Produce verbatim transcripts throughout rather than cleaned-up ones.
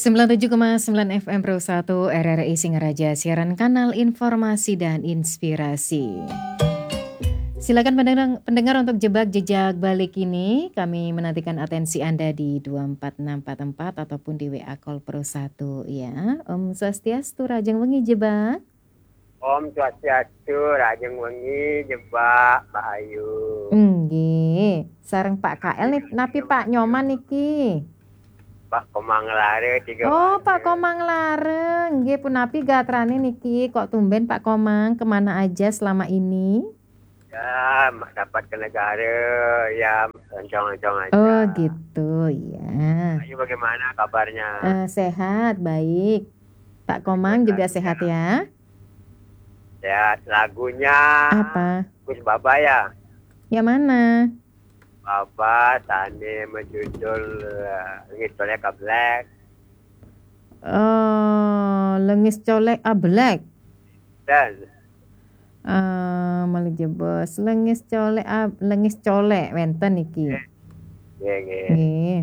Sembilan tujuh koma sembilan F M Pro satu R R I Singaraja, siaran kanal informasi dan inspirasi. Silakan pendengar, pendengar untuk jebak jejak balik ini. Kami menantikan atensi Anda di dua empat enam empat empat ataupun di W A Call Pro satu ya. Om Swastiastu, rahajeng wengi jebak. Om Swastiastu, rahajeng wengi jebak, Mbak Ayu. Nggih, sareng Pak K L nih, napi Pak Nyoman niki? Pak Komang Lare tiga. Oh, Pak Komang Lare. Nggih, punapi gatrane niki? Kok tumben Pak Komang, kemana aja selama ini? Ya, ma-, dapat ke negara, ya, oncong-oncong aja. Oh, gitu, ya. Ayu, bagaimana kabarnya? Eh, sehat, baik. Pak Komang juga sehat, ya? Sehat. Lagunya apa? Gus Baba, ya? Yang mana? Baba, sane menjudul, eh, Lengis Colek Ablek. Oh, Lengis Colek Ablek. Dan Eh, malih jebos. Lengis Colek ab-, Lengis Colek wenten niki. Nggih, nggih. Nggih.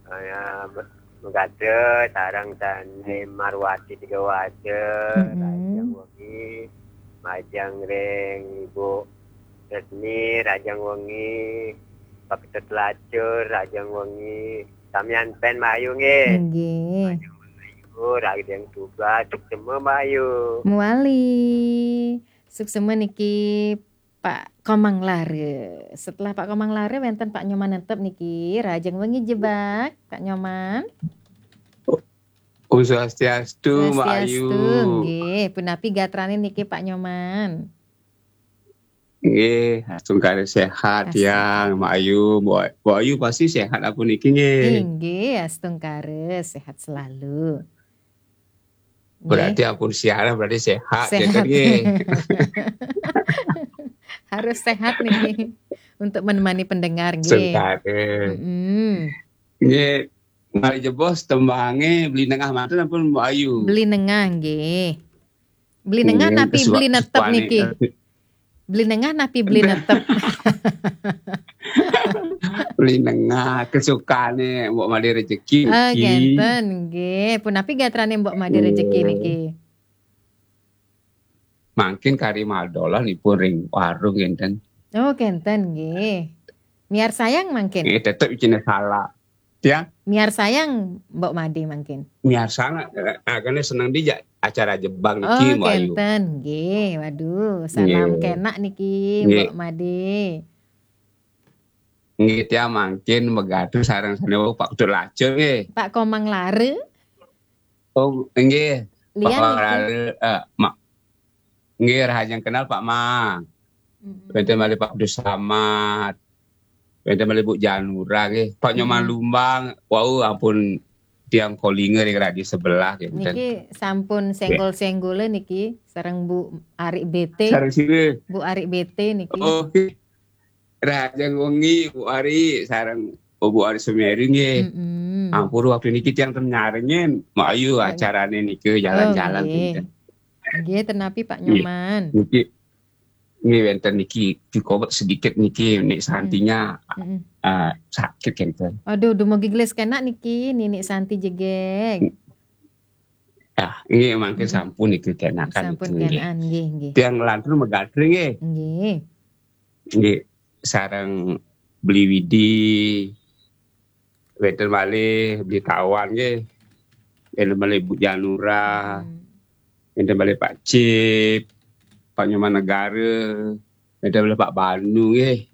Saya be-, Megade sareng Tani Marwati tiga waja, mm-mm, rahajeng wengi, majeng ring Ibu Resmi, rahajeng wengi, Pak Ketut Lacur, rahajeng wengi, samian pen Mbak Ayu nggih. Nggih. Rahajeng wengi Mbak Ayu, rahajeng tugas, suksema Mbak Ayu. Muali. Suksema niki Pak Komang Lare. Setelah Pak Komang Lare wenten Pak Nyoman Nentep niki. Rahajeng wengi jebak, Pak Nyoman. Om Swastiastu, Mbak Ayu. Swastiastu, nggih. Punapi gatrane niki Pak Nyoman? Nggih, astungkara sehat. Astungkara. Yang Mbak Ayu, Mbak, Mbak Ayu pasti sehat apa niki nggih? Inggih, astungkara sehat selalu. Nggih. Berarti ampun siaran berarti sehat, ya kan, sehat. Nggih. Harus sehat niki untuk menemani pendengar, nggih. Astungkara. Mm-mm. Nggih, malih jebos tembange Beli Nengah manten ampun Mbak Ayu? Beli Nengah, nggih. Beli Nengah, nggih, napi kesuka-, Beli Netep kesukane niki? Beli Nengah napi Beli Netep? Beli Nengah, kesukane Mbok Made Rejeki. Ah, niki. Kenten, nggih. Punapi gatrane Mbok Made Rejeki niki? Nggih. Mangkin kari malih dolan ipun ring warung kenten. Oh, kenten, nggih. Miarsayang mangkin? Nggih, tetep isine salah. Ya. Miarsayang Mbok Made mangkin? Miarsayang, eh, eh, kene seneng dijak acara jebak niki, Mbok Ayu. Oh, kenten, nggih. Waduh, salam kenak niki, nggih, Mbok Made. Nggih, tiang mangkin megatu sareng sane wau Pak Ketut Lacur nggih. Pak Komang Lare? Oh, nggih. Lian Pak niki? Lare, eh, ma-, nggih, rahajeng kenal Pak Ma. Mm-mm. Wenten malih Pak Abdul Samad. Wenten malih Bu Janura nggih. Pak Nyoman Lumbang, wau ampun tiang kolinga ring radio sebelah nggih. Niki sampun senggol-senggole niki sareng Bu Ari B T. Sareng sira? Bu Ari B T niki. Oh, nggih. Rahajeng wengi Bu Ari sareng, oh, Bu Ari Semeru nggih. Mm-mm. Ampun waktu niki tiang ten nyarengin. Mbok Ayu acarane niki jalan-jalan. Oh, nggih. Nggih, ten napi Pak Nyoman? Nggih. Niki Nggih, wenten niki, cukup sedikit niki, Nik Santinya, eh, sakit kenten. Aduh, dumugi gelis kenak niki, Ninik Santi jegeg. Ah, nggih, mangke sampun niki kenakan. Sampun niki, kenakan, nggih, nggih. Tiang lantur megatri nggih. Nggih. Nggih, sareng Beli Widi, wenten malih Beli Tawan nggih. Wenten malih Bu Janura. Wenten malih Pak Cip, Pak Nyoman Negara, wenten malih Pak Banu nggih.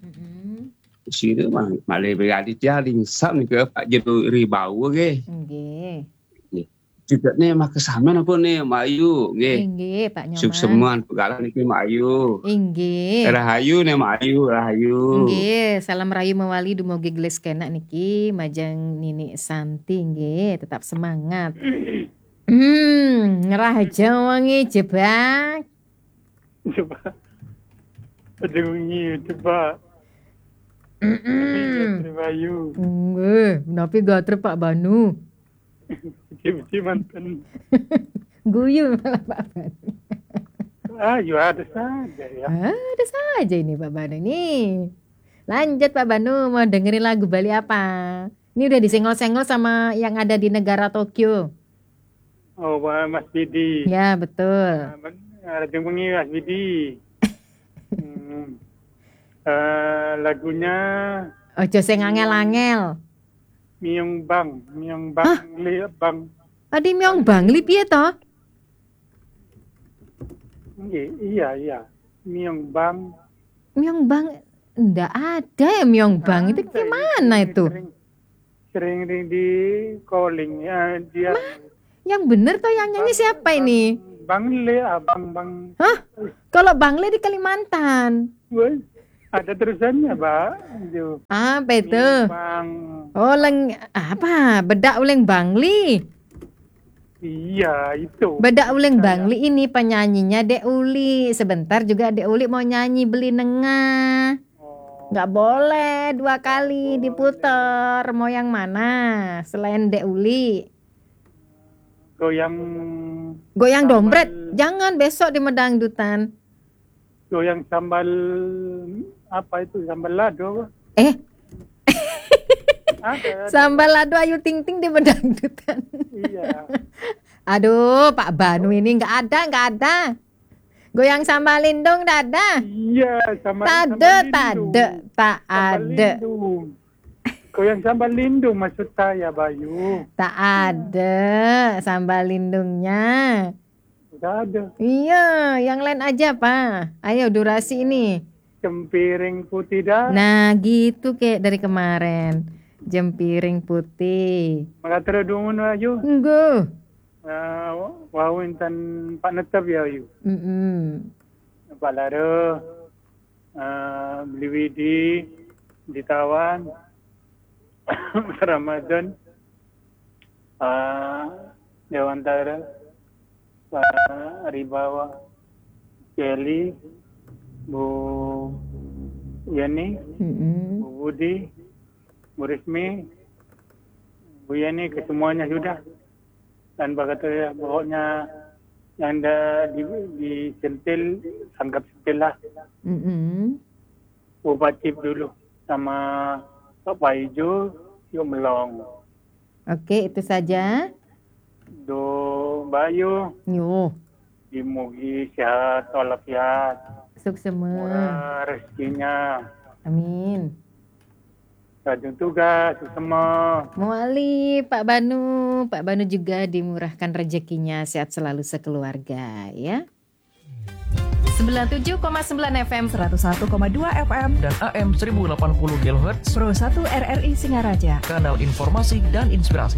Sira ma-, malih Beli Aditya Lingsap nika Pak Jero Ribawa nggih. Nggih. Nggih. Juga nih maka sampean apa nih Mbok Ayu nggih. Nggih, Pak Nyoman. Suksema pegalah niki Mbok Ayu. Inggih. Rahayu nih Mbok Ayu, rahayu. Nggih, salam rahayu mawali dumugi gelis kenak niki majeng Ninik Santi nggih, tetap semangat. Hmm, rahajeng wengi jebak. Jebak. Rahajeng wengi jebak. Mm-mm. Terima Ayu. Nggih, napi gatre Pak Banu? Puji-puji manten. Guyu malah Pak Banu. Ah, ya ada saja ya. Ada saja ini Pak Banu nih. Lanjut Pak Banu, mau dengerin lagu Bali apa? Ini udah disenggol-senggol sama yang ada di negara Tokyo. Oh, Mas Bidi. Ya, betul. Ada yang Mas Bidi. Hmm. Uh, lagunya Ojo sing angel-angel. Myung Bang, Myung Bang, Hah? Li Bang. Adi Myung Bang, Li piye to? Iya, iya. Myung Bang. Myung Bang, ndak ada ya Myung Bang. Itu gimana itu? Sering di calling ya dia. Yang bener tuh yang nyanyi siapa ini? Bang Le, Abang Bang. Hah? Kalau Bang Le di Kalimantan. Woi, ada terusannya, Mbak. Apa itu? Bang. Oh, leng apa? Bedak uleng Bangli. Iya, itu. Bedak uleng Bangli ini penyanyinya Dek Uli. Sebentar juga Dek Uli mau nyanyi Beli Nengah. Nggak boleh dua kali diputer. Mau yang mana selain Dek Uli? Goyang Goyang dompet. Jangan, besok di Medangdutan. Goyang sambal apa itu? Sambal lado. Eh, Ada. Sambal lado Ayu Ting Ting di Medangdutan. Iya. Aduh, Pak Banu ini nggak ada, nggak ada. Goyang sambal lindung nggak ada. Iya, sama Tade, tade, tak ada. Goyang sambal lindung maksud saya, Bayu. Tak ada sambal lindungnya. Tidak ada. Iya, yang lain aja, Pak. Ayo, durasi ini. Jempiring putih dah. Nah, gitu kayak dari kemarin. Jempiring putih. Maka terus dulu, Bayu. Nggih. Uh, wau intan Pak Netep ya, Yu. Mm-mm. Pak Lare, uh, Beli Widi, Ditawan, Ramadan, uh, Dewantara, Pak Ribawa, Kelly, Bu Yani, Mm-mm. Bu Budi, Bu Rismi, Bu Yani, ke semuanya sudah. Dan berkata ya, pokoknya yang dah di, disentil, anggap sentil lah. Mm-mm. Ubah chip dulu sama Pak Paijo, yuk melong. Oke, itu saja. Do Bayu, Yo, dimugi sehat walafiat, suksema. Murah rezekinya. Amin. Rajin tugas, suksema. Muali Pak Banu, Pak Banu juga dimurahkan rezekinya, sehat selalu sekeluarga ya. Sembilan tujuh koma sembilan F M, seratus satu koma dua F M, dan A M seribu delapan puluh kilohertz, Pro satu R R I Singaraja. Kanal informasi dan inspirasi.